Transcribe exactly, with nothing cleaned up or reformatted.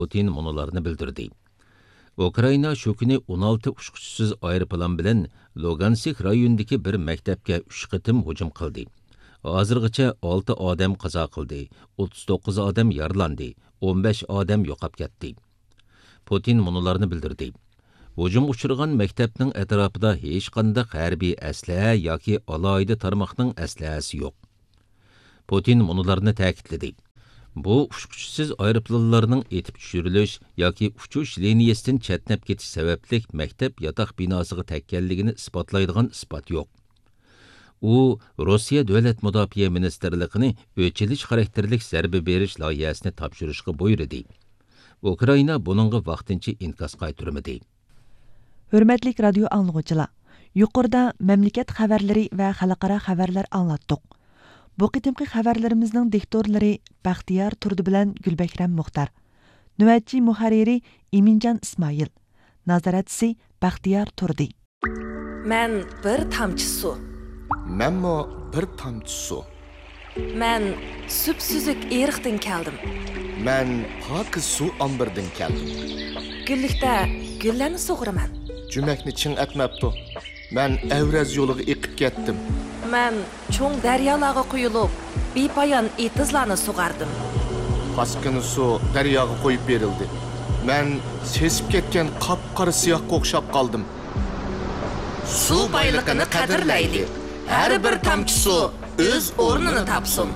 پۇتىن مۇنۇلارنى بىلدۈردى. ئۇكرائىنا شۇ كۈنى ئون ئالتە ئۇچقۇچىسىز ئايروپىلان بىلەن لۇگانسك رايونىدىكى بىر مەكتەپكە ئۈچ قېتىم ھۇجۇم قىلدى. ھازىرغىچە ئالتە ئادەم قازا قىلدى، ئوتتۇز توققۇز ئادەم يارىلاندى، ئون بەش ئادەم يوقاپ كەتتى. پۇتىن مۇنۇلارنى بىلدۈردى. ھۇجۇمغا ئۇچرىغان مەكتەپنىڭ ئەتراپىدا ھېچقانداق ھەربىي ئەسلىھە ياكى ئالاھىدە تارماقنىڭ ئەسلىھەسى يوق. پۇتىن مۇنۇلارنى تەكىتلىدى. بۇ ئۇچقۇچىسىز ئايروپىلانلارنىڭ ئېتىپ چۈشۈرۈلۈش ياكى ئۇچۇش لىنىيەسىدىن چەتنەپ كېتىش سەۋەبلىك مەكتەپ ياتاق بىناسىغا تەگكەنلىكىنى ئىسپاتلايدىغان ئىسپات يوق. ئۇ روسىيە دۆلەت مۇداپىئە مىنىستىرلىقىنى ئۆچ ئېلىش خاراكتېرلىك زەربە بېرىش لايىھەسىنى تاپشۇرۇشقا بۇيرۇدى. ئۇكرائىنا بۇنىڭغا ۋاقتىنچە ئىنكاس قايتۇرمىدى. ھۆرمەتلىك رادىيو ئاڭلىغۇچىلار، يۇقىرىدا مەملىكەت خەۋەرلىرى ۋە خەلقئارا خەۋەرلەر ئاڭلاتتۇق. بۇ قېتىمقى خەۋەرلىرىمىزنىڭ دىكتورلىرى بەختىيار تۇردى بىلەن گۈلبەھرەم مۇختار. نۆۋەتچى مۇھەررىرى ئىمىنجان ئىسمائىل. نازارەتچىسى بەختىيار تۇردى. مەن بىر تامچە سۇ. مەنمۇ بىر تامچە سۇ. مەن سۈپسۈزۈك ئېرىقتىن كەلدىم. مەن پاكىز سۇ ئامبىرىدىن كەلدىم. گۈللۈكتە گۈللەرنى سۇغۇرىمەن. جۈمەكنى چىڭ ئەتمەپتۇ. مەن ئەۋرەز يولىغا ئېقىپ كەتتىم. مەن چوڭ دەريالارغا قۇيۇلۇپ، بىپايان ئېتىزلارنى سۇغاردىم. پاسكىنا سۇ دەرياغا قويۇپ بېرىلدى. مەن سېسىپ كەتكەن قاپقارا سىياھقا ئوخشاپ قالدىم. سۇ بايلىقىنى قەدىرلەيلى. ھەر بىر تامچە سۇ ئۆز ئورنىنى تاپسۇن.